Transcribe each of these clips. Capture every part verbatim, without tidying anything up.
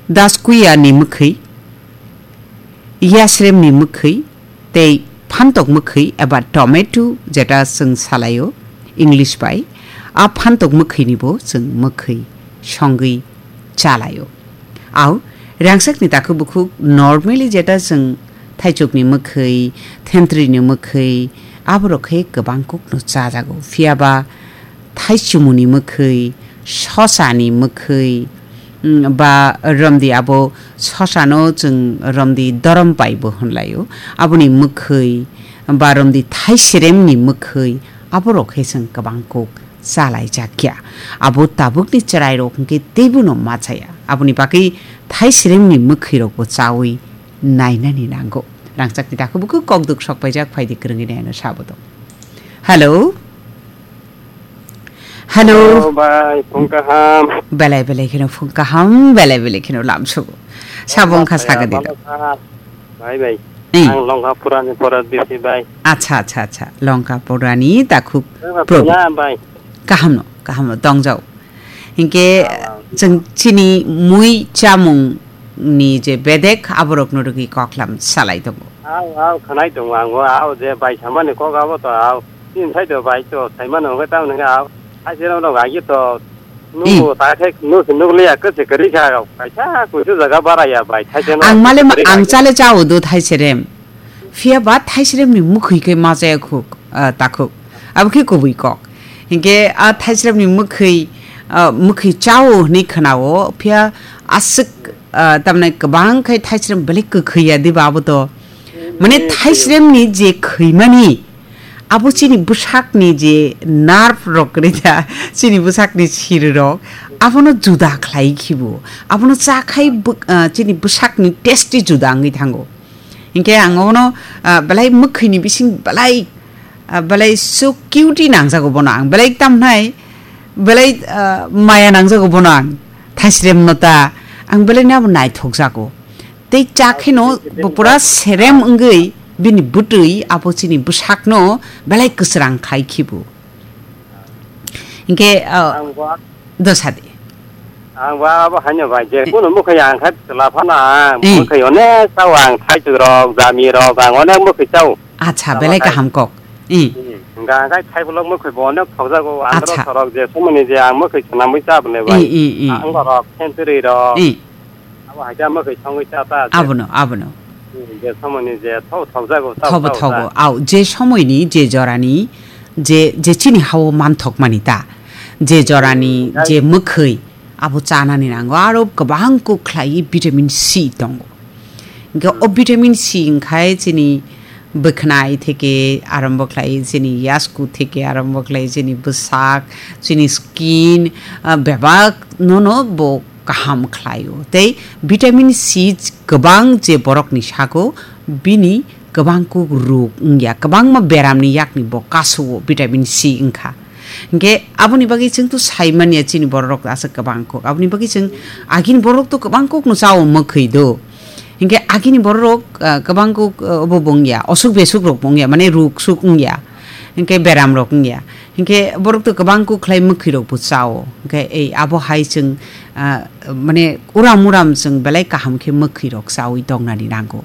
Daskuya ni mwkhwi, yasrem ni mwkhwi, tei phantok mwkhwi eba tomato jeta chwng salaio English bai, a phantok mwkhwi ni bo chwng mwkhwi songwi chalaio. Au, rangchak ni takhuk bukhuk normally jeta chwng thaichuk ni mwkhwi, thentwrwi ni mwkhwi, aborok khe kwbang kuk no chajago. Phiya ba thaichumuni mwkhwi, sosani mwkhwi, mm, ba romdi abo sosano chwng romdi dorom pai bo hwnlaio. Aboni mwkhwi ba romdi thaisiremni mwkhwi aborok khe chwng kwbang kuk chalaijakya. Abo tabukni chwrairok hwnkhe teibono machaya. Aboni bagwi thaisiremni mwkhwirokbo chawi nainani nango. Rangchakni takhuk bukhuk kokduk sokpaijak phaidi kwrwngwi naino sabo tong. Hello. Hello. Hello, bai, phung kaham. Belai belai kheno phung kaham, belai belai kheno lamsogo. Sabo wngkha saga dilo. Bai, bai. Eh. Ang Longkapurani Porat Bisi, bai. Acha, acha, acha. Longkapurani takhuk Longkapura, Probi. Bai. Kaham no, kaham no, tongjao. Hinkhe, ah, chwng chini mui chamung ni je bedek aborok no rwgwi koklam salai tongo. Au, au, khanai tongo ang, o, au, je bai samani kok abo to, au. Tin sai to bai to, sai mano hwnkhe tamoni hwnkhe, au. Hai se rok no agi to, nugo ta khe, nu se nukliya, kwse kwrwi kha, kaisa kuisu jaga baraya bai, thaise no. Ang male ma, kwrwi ang kha. Chale chao do thaise rem. Phiya ba thaise rem ni mukhwi khe ma chaya khuk, ah, takhuk. Abo khe kubui kok. Hinkhe a thaise rem ni mukhwi, ah, mukhwi chao hwnwi khwnao, phiya aswk ah, tamni kwbang khai thaisrem belai kwkhwi ya diba abo to. Mane thaisrem ni je khwimani, abo chini bwsakni je nerve rok kwrwi da, chini bwsakni siri rok, abono juda khlai khibo. Abono cha khai bw-, ah, chini bwsakni taste juda wngwi thango. Hinkhe ang obono, ah, belai mwkhwini bising belai, ah, belai so cute nangjago bono ang. Belai tamhnai, belai, ah, maya nangjago bono ang. Thaisrem no ta, ang belai no abo naithok jago. Tei cha kheno bo pura serem wngwi bini bwtwi abo chini bwsakno belai kwsrang khai khibo. Hinkhe, ah, ang bo Dosadi. Ang ba abo haino bai, je kuno mwkhwi ang khai chwla phano ang, eh, mwkhwi onek chao ang, thaichuk rok, jami rok, ang onek mwkhwi chao. Acha, chwla belai khai. Kaham kok. Eh. Hmm. Hwnkha ang khai thaibolok mwkhwi bo onek thokjago, andro, acha, sorok je somoni je ang mwkhwi swnamwi cha bwle bai. Eh, eh, eh. Ang borok, century rok. Eh. Abo hai khe amo khe songwi cha ta je. Abono, abono. Hmm, je somoni je tho thokjago, tho thobo thok thogo. Ta. Au, je somoini, je jorani, je, je chini hao manthokmani ta. Je jorani, hmm, je mwkhwi, abo chanani nango. Aro kwbang kuk khlai vitamin C tongo. Hingke o, hmm, vitamin C wngkhai chini bwkhnai theke arombo khlai, chini yasku theke arombo khlai, chini bwsak, chini skin, ah, bebak nono bo kaham khlaio. Tei vitamin C kwbang je borokni sago, bini kwbang kuk ruk wngya, kwbangma beramni yakni bo kasuo vitamin C wngkha. Hingke aboni bagwi chwng to sai manya chini bororok aswk kwbang kuk. Aboni bagwi chwng agini borok to kwbang kuk no chao mwkhwi do. Hingke agini bororok, ah, kwbang kuk, ah, obo bo wngya, osuk besuk rok bo wngya, mane ruk suk wngya. Hingke beram rok wngya. Hingke borok to kwbang kuk khlai mwkhwi rok bo chao. Hingke ei abo hai chwng, ah, mane uram uram chwng belai kaham khe mwkhwi rok chawi tongnani nango.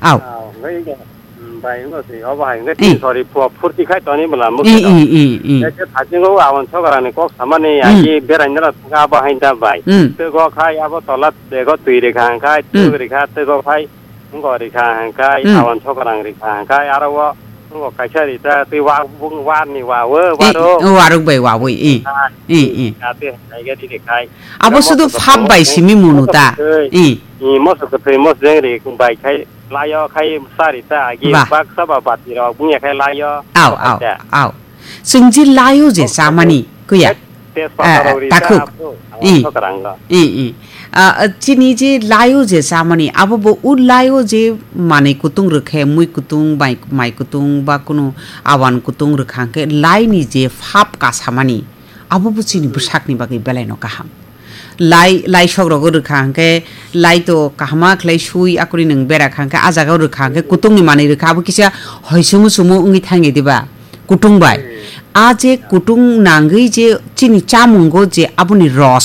Au. Au, hingke, hmm, bai, hingke si, obo hai, hingke, eh, si, sorry, phu-, phurti khai toni bwla mwkhwi rok. Eh, eh, eh, eh. Hingke phasingo aboni sokarangni kok samani, hmm, agi beraina rok thangkha abo hai da bai. Hmm. Twgo khai abo tola bego twi rikha hingkhai, hmm, twgo rikha, twgo khai. Wngkha rikha hingkhai, hmm, awan sokarang rikha hingkhai, aro o wngkha kaisa rita twi wa-, bung warni wa o, eh, waro. O warok bai wawi, eh. Hingkhai, eh, eh, ate hingkhai gari rikhai. Abo sudu phap bai simi munu ta. Eh. Eh, moso kwthwi, moso jeng ri bai khai, layo khai sa rita agi, bah, baksa ba bati rok bungya khai layo. Au, au, au. Chwng je layo je chamani, kuya? Tejpata, eh, rok rita takhuk. Abo, awan, eh, sokarang rok. Eh, eh. Ah, ah, chini je layo je chamani, abo bo o layo je manwi kutung rwkhe, mui kutung, mai, mai kutung, ba kunu awan kutung rwkha hwnkhe laini je phap kasamani, abo bo chini bwsakni bagwi belaino kaham. Lai, lai sok rogo rwkha hwnkhe, lai to kahama khlai sui akori nwng bera kha hwnkhe, ah jaga o rwkha hwnkhe, kutungni manwi rwkha, abo kisa hoi sumu sumu wngwi thangya diba? Kutung bai. Hmm. Ah je kutung nangwi je chini chamungo je aboni ros